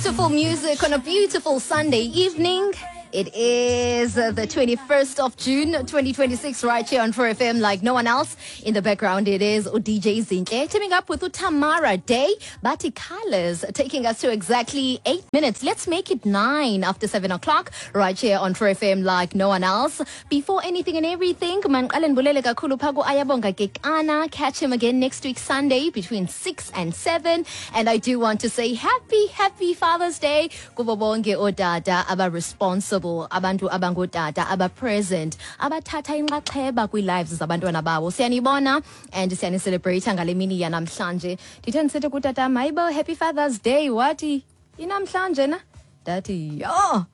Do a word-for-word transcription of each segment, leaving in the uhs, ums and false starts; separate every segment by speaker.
Speaker 1: Beautiful music on a beautiful Sunday evening. It is uh, the twenty-first of June twenty twenty-six, right here on four F M like no one else. In the background, it is D J Zinhle teaming up with Tamara Day, Bati Colors, taking us to exactly eight minutes. Let's make it nine after seven o'clock, right here on four F M like no one else. Before anything and everything, mandiqale ndibulele kakhulu pha ku-Ayabonga Kekana. Catch him again next week, Sunday, between six and seven. And I do want to say happy, happy Father's Day kubo bonke ootata aba-responsible, abantu abangootata aba-present, abathatha inxaxheba kwii-lives zabantwana babo. Siyanibona and siyanicelebrate ngale mini yanamhlanje. Ndithe ndisithi kutata, "Mayibo, happy Father's Day," wathi, "Inamhlanje na?" Ndathi, "Yho."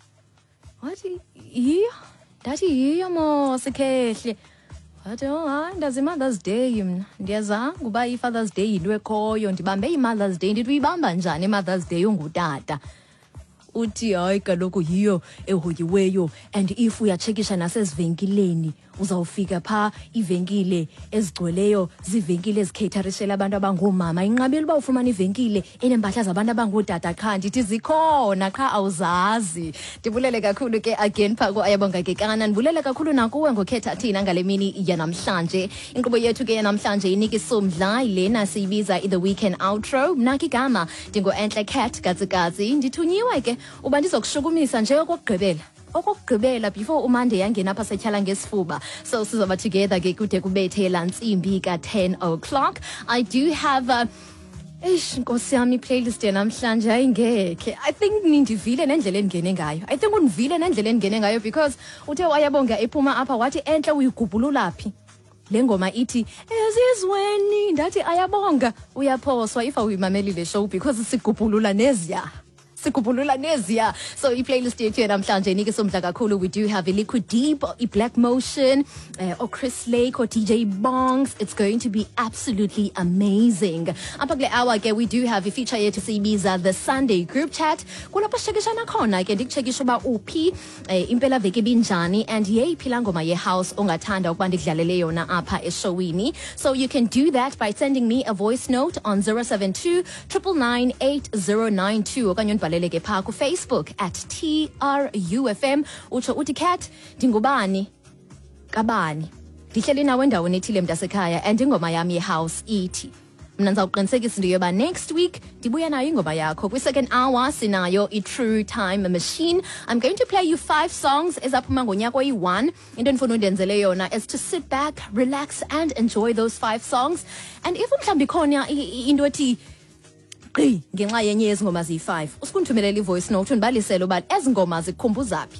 Speaker 1: Wathi, "Yiyo." Ndathi, "Yiyo mos, khehle." Wathi, "Oh hayi, ndazi i-Mother's Day mna, ndiyazanga uba i-Father's Day yinto ekhoyo, ndibambe i-Mother's Day." Ndithi, "Uyibamba njani i-Mother's Day ungutata?" Uthi, "Hayi kaloku, yiyo ehoyiweyo, and if uyatshekisha nasezivenkileni, uzawufika phaa iivenkile ezigcweleyo ziivenkile ezicaterishela abantu abangoomama. Inqabile uba ufumana ivenkile eneempahla zabantu abangootata qha." Ndithi, "Zikhona, qha awuzazi." Ndibulele kakhulu ke again phaa ku-Ayabonga Kekana. Ndibulele kakhulu nakuwe ngokhetha thina ngale mini yanamhlanje. Inkqubo yethu ke yanamhlanje inika isumdla lena siyibiza i-The Weekend Outro. Mna ke igama ndingu-Entle Cat Katsikatsi. Ndithunyiwe ke uba ndizokushukumisa nje okokugqibela okokugqibela before uMonday yangena apha setyhala ngesifuba. So sizoba together ke kude kubethe laa ntsimbi ka-ten o'clock. I do have uh, eish, nkosi yami, i-playlist yanamhlanje ayingekhe. I think nindivile nendlela endingene ngayo. I think undivile nendlela endingene ngayo, because uthe wayabonga ephuma apha wathi, "Entle, uyigubhulula phi le ngoma ithi ezizweni?" Ndathi, "Ayabonga, uyaphoswa if awuyimamelile show, because sigubhulula neziya, sigubhulula neziya." So i-playlist yethu yanamhlanje inika isomdla kakhulu. We do have i-Liquid Deep, i-Black Motion, uh, or Chris Lake or D J Bongs. It's going to be absolutely amazing. Apha kule hour ke we do have i-feature yethu siyibiza the Sunday Group Chat, kulapho sitshekishana khona ke, ndikutshekisha uba uphi, eh, impela veki ibinjani, and yeyiphi laa ngoma ye-house ongathanda ukuba ndikudlalele yona apha eshowini. So you can do that by sending me a voice note on zero seven two nine nine nine eight zero nine two, okanye undibhalele ke phaa kuFacebook at T R U F M, utsho uthi, "Cat, ndingubani kabani, ndihleli nawe endaweni ethile, mntasekhaya, and ingoma yam ye-house ithi." Mna ndizawuqinisekisa into yoba next week ndibuya nayo ingoma yakho. Kwi-second hour sinayo i-True Time Machine. I'm going to play you five songs ezaphuma ngonyaka oyi-one. Into endifuna undenzele yona is to sit back, relax and enjoy those five songs. And if mhlawumbi ikhona i- i- into ethi gqi ngenxa yenye yezi ngoma ziyi-five, usukundithumelela i-voice note, undibalisele uba ezi ngoma zikukhumbuza phi,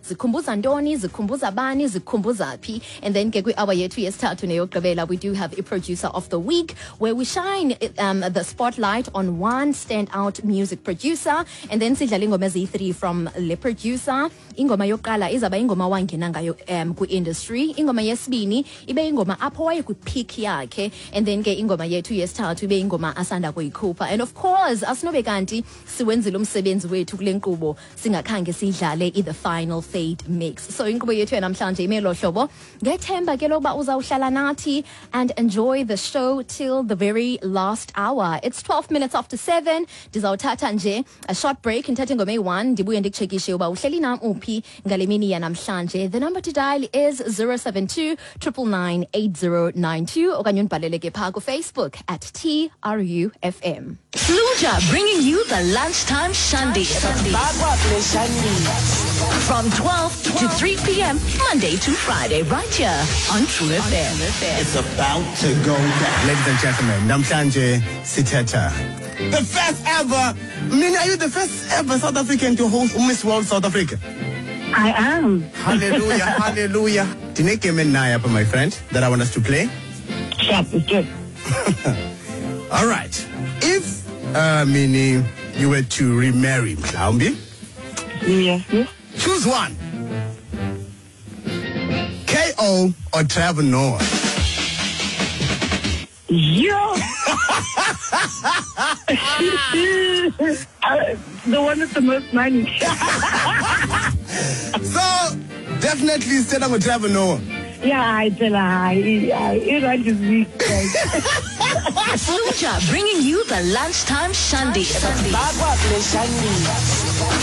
Speaker 1: zikhumbuza ntoni, zikhumbuza bani, zikhumbuza phi. And then ke kwi-hour yethu yesithathu neyokugqibela, we do have a producer of the week, where we shine um, the spotlight on one standout music producer, and then sidlala ingoma eziyi-three from le producer. Ingoma yokuqala izawuba ingoma wangena ngayo um kwi-industry, ingoma yesibini ibe ingoma apho waye kwi-peak yakhe, and then ke ingoma yethu yesithathu ibe ingoma asanda kuyikhupha. And of course, asinobe kanti siwenzile umsebenzi wethu kule nkqubo singakhange siyidlale i-The Final Fade Mix. So inkqubo yethu yanamhlanje ime lo hlobo, ngethemba ke lokuba uzawuhlala nathi and enjoy the show till the very last hour. It's twelve minutes after seven. Ndizawuthatha nje a short break, ndithathe ingoma eyi-one, ndibuye ndikutshekishe uba uhleli nam uphi ngale mini yanamhlanje. The number to dial is zero seven two nine nine nine eight zero nine two, okanye undibhalele ke phaa kuFacebook at T R U F M.
Speaker 2: Fluja bringing you the Lunchtime Shandy. From twelve to three p m. Monday to Friday, right here on True F M.
Speaker 3: It's about to go down.
Speaker 4: Ladies and gentlemen, namhlanje sithetha the first ever, Mina, are you the first ever South African to host Miss World South Africa?
Speaker 5: I am.
Speaker 4: Hallelujah, hallelujah. Ndinegame endinayo apha, my friend, that I want us to play.
Speaker 5: Sharp, it's good.
Speaker 4: All right. If, uh, Minnie, you were to remarry, mhlawumbi,
Speaker 5: Yeah, yeah.
Speaker 4: choose one. K O or Trevor Noah?
Speaker 5: Yeah. uh, the one with the most money.
Speaker 4: So, definitely sithetha ngo Trevor Noah.
Speaker 5: Yeah, hayi phela hayi hayi irandi is weak guys.
Speaker 2: Luja bringing you the lunchtime shandy.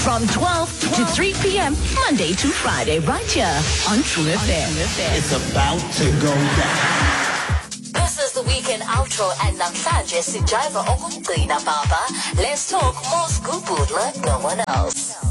Speaker 2: From twelve to three p m. Monday to Friday, right here on True F M.
Speaker 3: It's about to go down.
Speaker 2: This is the weekend outro and namhlanje sijiva okugcina, baba. Let's talk more scoop like no one else.